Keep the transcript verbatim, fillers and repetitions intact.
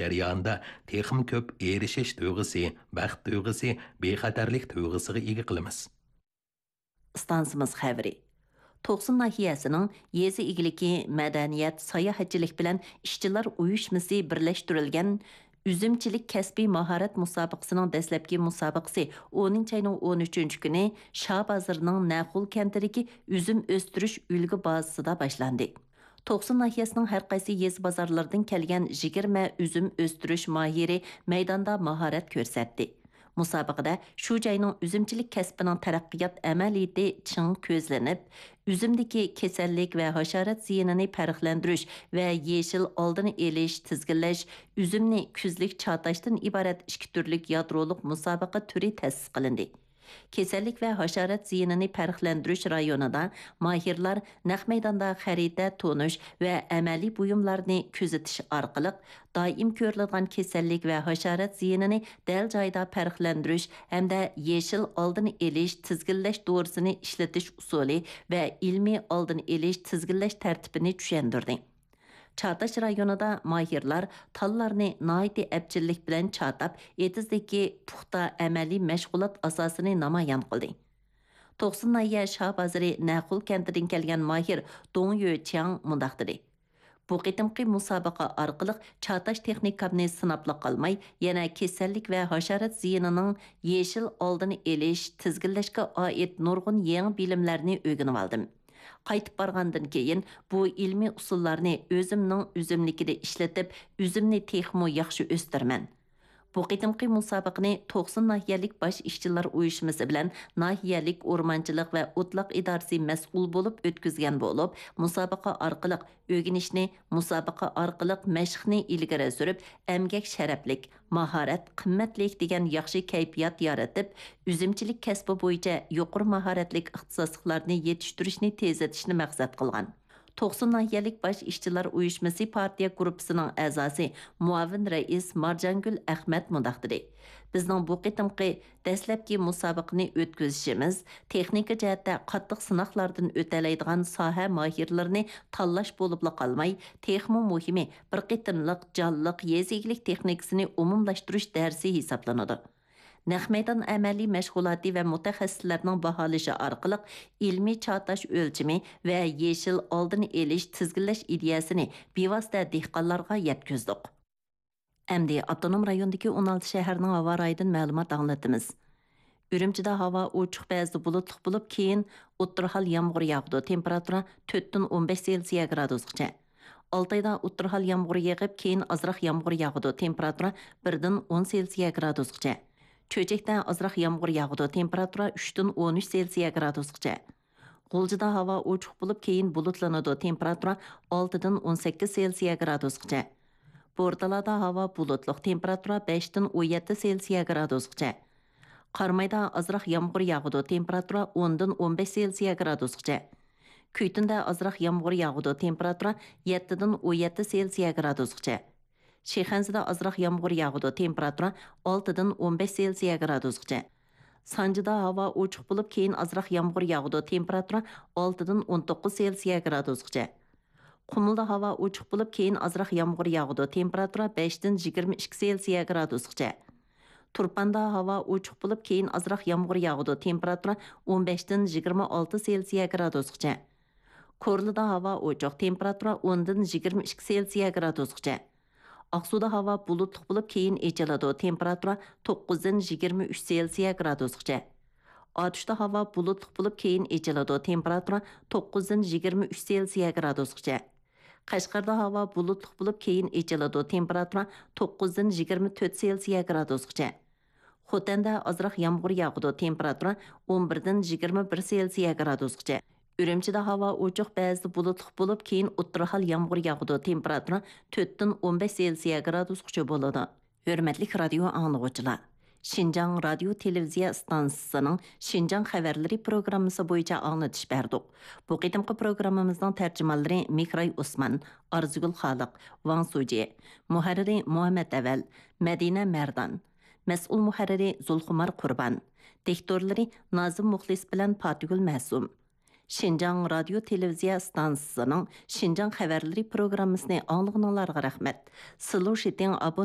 جەريانىدا تېخىمۇ كۆپ ئېرىشىش تۇيغۇسى، بەخت تۇيغۇسى، بىخەتەرلىك تۇيغۇسىغا ئىگە قىلىمىز. ئىستانسىمىز خەۋىرى. توقسۇن ناھىيەسىنىڭ يېزا ئىگىلىكى، مەدەنىيەت، ساياھەتچىلىك بىلەن ئىشچىلار ئۇيۇشمىسى بىرلەشتۈرۈلگەن ئۈزۈمچىلىك كەسپىي ماھارەت مۇسابىقىسىنىڭ دەسلەپكى مۇسابىقىسى ئونىنچى ئاينىڭ ئون ئۈچىنچى كۈنى شاھ بازىرىنىڭ نەخۇل كەنتىدىكى ئۈزۈم ئۆستۈرۈش ئۈلگە بازىسىدا باشلاندى. توقسۇن ناھىيەسىنىڭ ھەر قايسى يېزا بازارلىرىدىن كەلگەن يىگىرمە ئۈزۈم ئۆستۈرۈش ماھىرى مەيداندا ماھارەت كۆرسەتتى. مۇسابىقىدە شۇ جاينىڭ ئۈزۈمچىلىك كەسپىنىڭ تەرەققىيات ئەمەلىيىتى چىڭ كۆزلىنىپ، ئۈزۈمدىكى كېسەللىك ۋە ھاشارات زىيىنىنى پەرقلەندۈرۈش ۋە يېشىل ئالدىنى ئېلىش، تىزگىنلەش، ئۈزۈمنى كۈزلۈك چاتاشتىن ئىبارەت ئىككى تۈرلۈك يادرولۇق مۇسابىقە تۈرى تەسىس قىلىندى. كېسەللىك ۋە ھاشارات زىيىنىنى پەرقلەندۈرۈش رايونىدا ماھىرلار نەق مەيداندا خەرىتە تونۇش ۋە ئەمەلىي بۇيۇملارنى كۆزىتىش ئارقىلىق، دائىم كۆرۈلىدىغان كېسەللىك ۋە ھاشارات زىيىنىنى دەل جايىدا پەرقلەندۈرۈش ھەمدە يېشىل ئالدىنى ئېلىش، تىزگىنلەش دورىسىنى ئىشلىتىش ئۇسۇلى ۋە ئىلمىي ئالدىنى ئېلىش، تىزگىنلەش تەرتىپىنى چۈشەندۈردى. چاتاش رايونىدا ماھىرلار تاللارنى ناھايىتى ئەپچىللىك بىلەن چاتاپ، ئېتىزدىكى پۇختا ئەمەلىي مەشغۇلات ئاساسىنى نامايان قىلدى. توقسۇن ناھىيە شاھ بازىرى نەخۇل كەنتىدىن كەلگەن ماھىر دۇڭ يۆچياڭ مۇنداق دېدى: بۇ قېتىمقى مۇسابىقە ئارقىلىق چاتاش تېخنىكامنى سىناپلا قالماي، يەنە كېسەللىك ۋە ھاشارات زىيىنىنىڭ يېشىل ئالدىنى ئېلىش، تىزگىنلەشكە ئائىت نۇرغۇن يېڭى بىلىملەرنى ئۆگىنىۋالدىم. قايتىپ بارغاندىن كېيىن بۇ ئىلمىي ئۇسۇللارنى ئۆزۈمنىڭ ئۈزۈملۈكىدە ئىشلىتىپ، ئۈزۈمنى تېخىمۇ ياخشى ئۆستۈرىمەن. بۇ قېتىمقى مۇسابىقىنى توقسۇن ناھىيەلىك باش ئىشچىلار ئۇيۇشمىسى بىلەن ناھىيەلىك ئورمانچىلىق ۋە ئوتلاق ئىدارىسى مەسئۇل بولۇپ ئۆتكۈزگەن بولۇپ، مۇسابىقە ئارقىلىق ئۆگىنىشنى، مۇسابىقە ئارقىلىق مەشىقنى ئىلگىرى سۈرۈپ، ئەمگەك شەرەپلىك، ماھارەت قىممەتلىك دېگەن ياخشى كەيپىيات يارىتىپ، ئۈزۈمچىلىك كەسپى بويىچە يۇقىرى ماھارەتلىك ئىختىساسلىقلارنى يېتىشتۈرۈشنى تېزلىتىشنى مەقسەت قىلغان. توقسۇن ناھىيەلىك باش ئىشچىلار ئۇيۇشمىسى پارتىيە گۇرۇپپىسىنىڭ ئەزاسى، مۇئاۋىن رەئىس مارجانگۈل ئەخمەت مۇنداق دېدى: بىزنىڭ بۇ قېتىمقى دەسلەپكى مۇسابىقىنى ئۆتكۈزۈشىمىز تېخنىكا جەھەتتە قاتتىق سىناقلاردىن ئۆتەلەيدىغان ساھە ماھىرلىرىنى تاللاش بولۇپلا قالماي، تېخىمۇ مۇھىمى، بىر قېتىملىق جانلىق يېزا ئىگىلىك تېخنىكىسىنى ئومۇملاشتۇرۇش دەرسى ھېسابلىنىدۇ. نەق مەيدان ئەمەلىي مەشغۇلاتى ۋە مۇتەخەسسىسلەرنىڭ باھالىشى ئارقىلىق ئىلمىي چاتاش ئۆلچىمى ۋە يېشىل ئالدىنى ئېلىش، تىزگىنلەش ئىدىيەسىنى بىۋاسىتە دېھقانلارغا يەتكۈزدۇق. ئەمدى ئاپتونوم رايوندىكى ئون ئالتە شەھەرنىڭ ھاۋا رايىدىن مەلۇمات ئاڭلىتىمىز. ئۈرۈمچىدە ھاۋا ئوچۇق، بەزىدە بۇلۇتلۇق بولۇپ، كېيىن ئوتتۇرا ھال يامغۇر ياغىدۇ، تېمپېراتۇرا تۆتتىن ئون بەش سېلسىيە گرادۇسقىچە. ئالتايدا ئوتتۇرا ھال يامغۇر يېغىپ، كېيىن ئازراق يامغۇر ياغىدۇ، تېمپېراتۇرا بىردىن ئون سېلسىيە گرادۇسقىچە. چۆچەكتە ئازراق يامغۇر ياغىدۇ، تېمپېراتۇرا ئۈچتىن ئون ئۈچ سېلسىيە گرادۇسقىچە. غۇلجىدا ھاۋا ئوچۇق بولۇپ، كېيىن بۇلۇتلىنىدۇ، تېمپېراتۇرا ئالتىدىن ئون سەككىز سېلسىيە گرادۇسقىچە. بورتالادا ھاۋا بۇلۇتلۇق، تېمپېراتۇرا بەشتىن ئون يەتتە سېلسىيە گرادۇسقىچە. قارامايدا ئازراق يامغۇر ياغىدۇ، تېمپېراتۇرا ئوندىن ئون بەش سېلسىيە گرادۇسقىچە. كۈيتۈندە ئازراق يامغۇر ياغىدۇ، تېمپېراتۇرا يەتتىدىن ئون يەتتە سېلسىيە گرادۇسقىچە. شىخەنزىدە ئازراق يامغۇر ياغىدۇ، تېمپېراتۇرا ئالتىدىن ئون بەش سېلسىيە گرادۇسقىچە. سانجىدا ھاۋا ئوچۇق بولۇپ، كېيىن ئازراق يامغۇر ياغىدۇ، تېمپېراتۇرا ئالتىدىن ئون توققۇز سېلسىيە گرادۇسقىچە. قۇمۇلدا ھاۋا ئوچۇق بولۇپ، كېيىن ئازراق يامغۇر ياغىدۇ، تېمپېراتۇرا بەشتىن يىگىرمە ئىككى سېلسىيە گرادۇسقىچە. تۇرپاندا ھاۋا ئوچۇق بولۇپ، كېيىن ئازراق يامغۇر ياغىدۇ، تېمپېراتۇرا ئون بەشتىن يىگىرمە ئالتە سېلسىيە گرادۇسقىچە. كورلىدا ھاۋا ئوچۇق، تېمپېراتۇرا ئوندىن يىگىرمە ئىككى سېلسىيە گرادۇسقىچە. ئاقسۇدا ھاۋا بۇلۇتلۇق بولۇپ، كېيىن ئېچىلىدۇ، تېمپېراتۇرا توققۇزدىن يىگىرمە ئۈچ سېلسىيە گرادۇسقىچە. ئاتۇشتا ھاۋا بۇلۇتلۇق بولۇپ، كېيىن ئېچىلىدۇ، تېمپېراتۇرا توققۇزدىن يىگىرمە ئۈچ سېلسىيە گرادۇسقىچە. قەشقەردە ھاۋا بۇلۇتلۇق بولۇپ، كېيىن ئېچىلىدۇ، تېمپېراتۇرا توققۇزدىن يىگىرمە تۆت سېلسىيە گرادۇسقىچە. خوتەندە ئازراق يامغۇر ياغىدۇ، تېمپېراتۇرا ئون بىردىن يىگىرمە بىر سېلسىيە گرادۇسقىچە. ئۈرۈمچىدە ھاۋا ئوچۇق، بەزىدە بۇلۇتلۇق بولۇپ، كېيىن ئوتتۇرا ھال يامغۇر ياغىدۇ، تېمپېراتۇرا تۆتتىن ئون بەش سېلسىيە گرادۇسقىچە بولىدۇ. ھۆرمەتلىك رادىيو ئاڭلىغۇچىلار! شىنجاڭ رادىيو تېلېۋىزىيە ئىستانسىسىنىڭ شىنجاڭ خەۋەرلىرى پروگراممىسى بويىچە ئاڭلىتىش بەردۇق. بۇ قېتىمقى پروگراممىمىزنىڭ تەرجىمانلىرى مېھراي ئوسمان، ئارزۇگۈل خالىق، ۋاڭ سۇجى، مۇھەررىرى مۇھەممەت ئەۋەل، مەدىنە مەردان، مەسئۇل مۇھەررىرى زۇلخۇمار قۇربان، دىكتورلىرى نازىم مۇخلىس بىلەن پاتىگۈل مەسۇم. شىنجاڭ رادىيو تېلېۋىزىيە ئىستانسىسىنىڭ شىنجاڭ خەۋەرلىرى پروگراممىسىنى ئاڭلىغىنىڭلارغا رەھمەت. سىلۇشىتىڭ ئابوننى